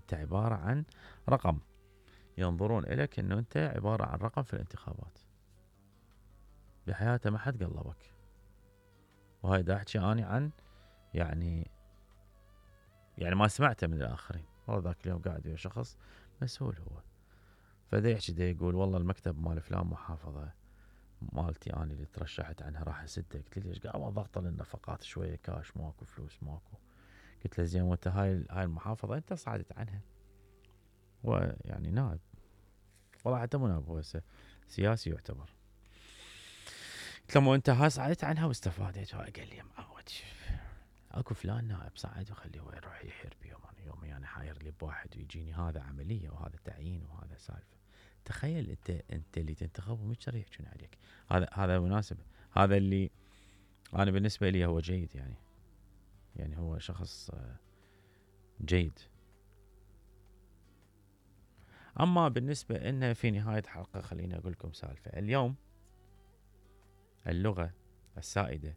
انت عبارة عن رقم، ينظرون اليك انه انت عبارة عن رقم في الانتخابات. بحياته ما حد قلبك. وهاي دا احكي اني عن يعني ما سمعته من الاخرين. والله ذاك اليوم قاعد ويا شخص مسؤول هو، فدا يحكي دا يقول والله المكتب مال فلان محافظة مالتي انا اللي ترشحت عنها راح اسده. قلت له ليش؟ قال ضغط للنفقات شوية كاش ماكو فلوس ماكو. قلت له زين وانت هاي المحافظة انت صعدت عنها، هو يعني نائب، والله حتى مو نائب هو سياسي يعتبر. قلت له مو انت هاي صعدت عنها واستفادت؟ قال لي معود اكو فلان نائب صعد وخليه هو يروح يحير بيوم، انا يومي انا حاير لي بواحد ويجيني هذا عملية وهذا تعيين وهذا سالفة. تخيل انت اللي تنتخب ومش يحجون عليك. هذا مناسب، هذا اللي انا بالنسبة لي هو جيد يعني هو شخص جيد. اما بالنسبة انه في نهاية حلقة خليني اقول لكم سالفة. اليوم اللغة السائدة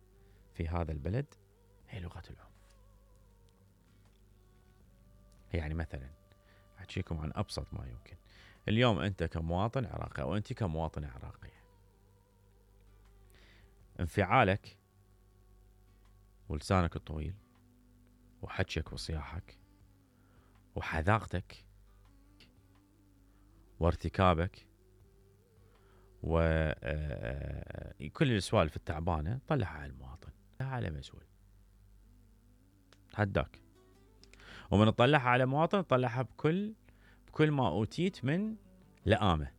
في هذا البلد هي لغة العنف. يعني مثلا احكيكم عن ابسط ما يمكن. اليوم انت كمواطن عراقي او انت كمواطنة عراقية، انفعالك ولسانك الطويل وحكيك وصياحك وحذاقتك وارتكابك وكل السوالف التعبانة طلعها على المواطن، طلعها على مسؤول، تحداك. ومن تطلعها على مواطن طلعها بكل ما أوتيت من لآمة.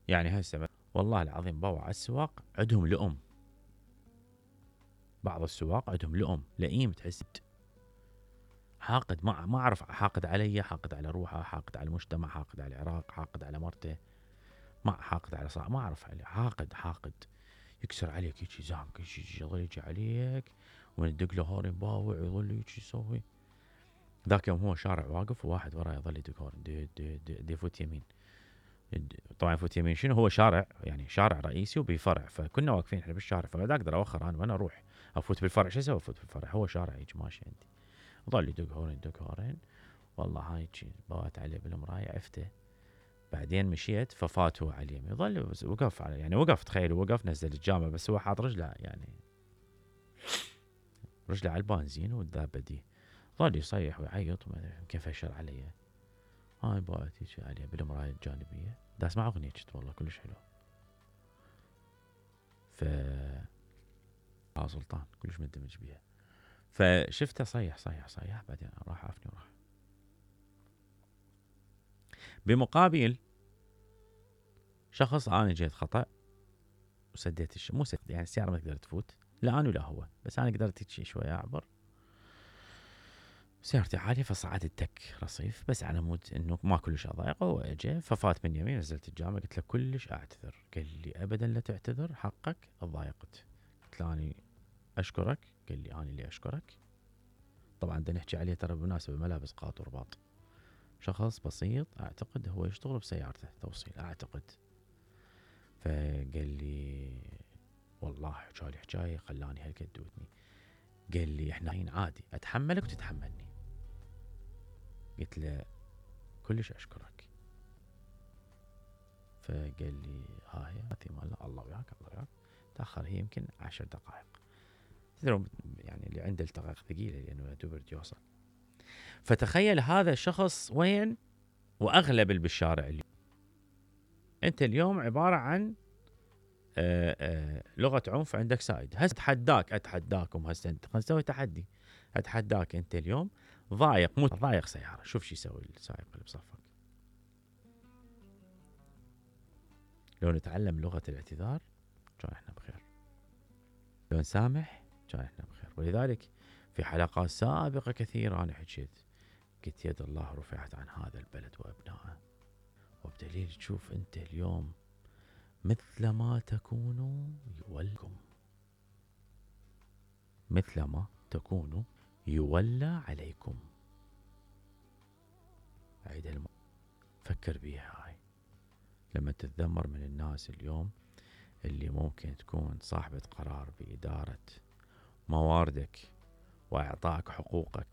يعني هسه والله العظيم بوع السواق عندهم لؤم، بعض السواق عندهم لؤم لئيم، تحس حاقد. ما أعرف، حاقد علي، حاقد على روحه، حاقد على المجتمع، حاقد على العراق، حاقد على مرته، ما حاقد على صاحب، ما أعرف عليه. حاقد يكسر عليك يجي زامك يظل يجي عليك وندق له هورن باوع ويظل يجي يسوي. ذاك يوم هو شارع واقف وواحد وراه يظل يدق هورن دي يفوت يمين. طبعا يفوت يمين شنو؟ هو شارع يعني شارع رئيسي وبفرع، فكنا واقفين احنا بالشارع، فما اقدر اوخر انا وانا اروح افوت بالفرع. شو اسوي افوت بالفرع؟ هو شارع يجي ماشي عندي، ظل يدق هورن. والله هاي بوات عليه بالمرايه عفته. بعدين مشيت ففات هو على اليمين، ظل وقف على يعني وقف، تخيل وقف نزل الجامع بس هو حاط رجله يعني رجله على البنزين والدابه دي. ظل يصيح ويعيط كيف اشر علي. هاي بوات يجي عليه بالمرايه الجانبيه دا اسمع اغنيه والله كلش حلو. ف سلطان كلش مندمج بيها. فشفته صيح بعدين راح عافني وراح. بمقابل شخص انا جيت خطأ وسديت مو سد يعني السيارة ما تقدر تفوت، لا انا ولا هو، بس انا قدرت شي شوية اعبر. سيارتي عالية فصعدت تك رصيف بس على مود انه ما كلش اضايقه. هو اجى ففات من يمين، نزلت الجامع قلت له كلش اعتذر. قال لي ابدا لا تعتذر، حقك ضايقت. قلت له اني اشكرك. قال لي انا اللي اشكرك. طبعا دا نحكي عليه ترى بالمناسبة ملابس قاط ورباط، شخص بسيط اعتقد هو يشتغل بسيارته توصيل اعتقد. فقال لي والله حكالي حكاية خلاني هالقد ودني. قال لي احنا عادي اتحملك وتتحملني. قلت له كلش اشكرك. فقال لي هاي الله وياك الله وياك. تاخر هي يمكن 10 دقائق. يعني اللي عنده التقاق ثقيلة لانه دوبرت يوصل. فتخيل هذا الشخص وين، واغلب اللي بالشارع اليوم. انت اليوم عبارة عن لغة عنف عندك سائد. اتحداكم هسه خلينا نسوي تحدي. اتحداك انت اليوم ضايق سيارة، شوف شو يسوي السائق اللي بصفك. لو نتعلم لغة الاعتذار كان احنا بخير، لو نسامح كان احنا بخير. ولذلك في حلقات سابقة كثيرة انا حكيت، قلت يد الله رفعت عن هذا البلد وابنائه. وبدليل تشوف انت اليوم مثل ما تكونوا يولكم، مثل ما تكونوا يولى عليكم. عيد فكر بيها هاي لما تتذمر من الناس اليوم اللي ممكن تكون صاحبة قرار بإدارة مواردك وإعطائك حقوقك